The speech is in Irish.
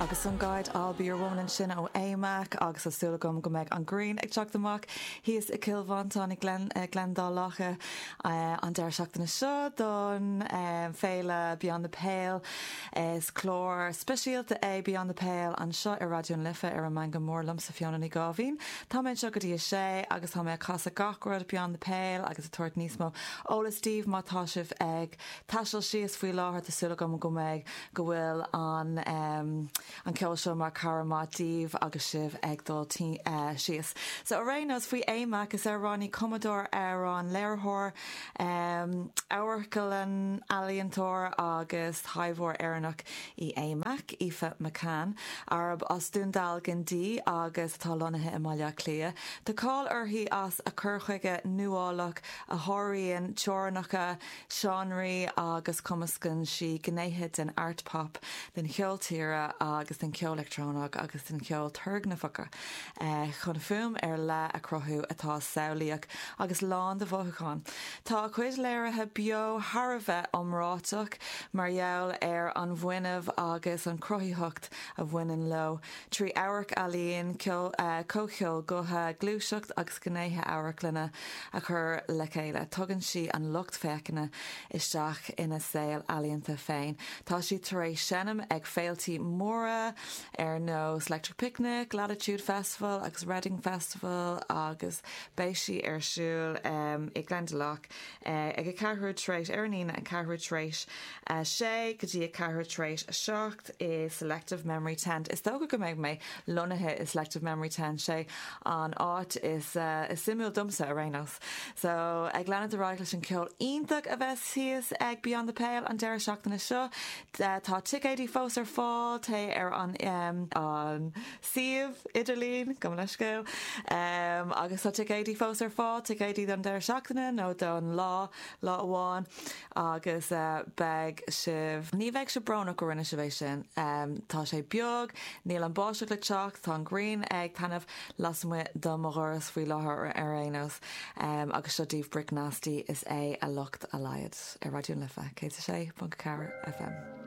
Agus an Guide I'll Be Your Woman ansin ó A-Mac agus tá súil agam go mbeidh an ghrian ag teacht amach thíos i gCill Mhantáin i nGleann Dá Locha an deireadh seachtaine seo don féile Beyond the Pale. Is clár speisialta é Beyond the Pale anseo ar Raidió na Life ar an Meangadh Mór liomsa Fiona Ní Gáibhín. Tá mé anseo go dtí a sé agus tá mé ag casadh gach rud Beyond the Pale agus ag tabhairt níos mó eolas daoibh má tá sibh ag taisteal síos faoi láthair. Tá súil agam go mbeidh, go bhfuil an an ceol seo mar cara maith daoibh agus sibh ag dul síos. So ar aon nós faoi A-Mac, is amhránaí, cumadóir amhrán, léiritheoir, amharclann-ealaíontóir agus taibheoir Éireannach í A-Mac, Aoife McCann, arb as Dún Dealgan di agus atá lonnaithe i mBaile Átha Cliath. Tá cáil uirthi as a cur chuige nuálach a sháraíonn teorainneacha seánraí agus cumascann sí gnéithe den art pop, den cheol tíre agus den cheol leictreonach agus den cheol turgnamhach chun fuaim ar leith a chruthú atá samhlaíoch agus lán de mhothúcháin. Tá a cuid léirithe beo thar a bheith iomráiteach mar gheall ar an bhfuinneamh agus an chruthaitheacht a bhaineann leo. Trí amharc-ealaín, comhcheol gutha, gluaiseacht agus gnéithe amharclainne a chur le chéile, tugann sí an lucht féachana isteach ina saol ealaíonta féin. Tá sí tar éis seinm ag féiltí móra ar nós Electric Picnic, Latitude Festival agus Reading Festival agus beidh sí ar siúl i Glendalough ag a ceathrú tar éis, ar an Aoine, an ceathrú tar éis a sé go dtí a ceathrú tar éis a 7 i Selective Memory Tent. Is dócha go mbeidh mé lonnaithe i Selective Memory Tent, sé an áit is suimiúil domsa ar aon nós. So, ag leanúint ar aghaidh leis an ceol iontach a bheas thíos ag Beyond the Pale an deireadh seachtaine seo, tá ticéidí fós ar fáil, téigh ar an an suíomh idirlín, gabh mo leithscéal, agus tá ticéidí fós ar fáil, ticéidí don deireadh seachtaine nó don lá, lá amháin. Agus beidh sibh, ní bheidh sibh brónach go rinne sibh é sin. Tá sé beag, níl an báisteach le teacht, tá an ghrian ag taitneamh lasmuigh de mo dhoras faoi láthair ar aon nós. Agus seo daoibh Brick Nasty, is é a locht a laghad. Ar Raidió na Life, 106.4 FM.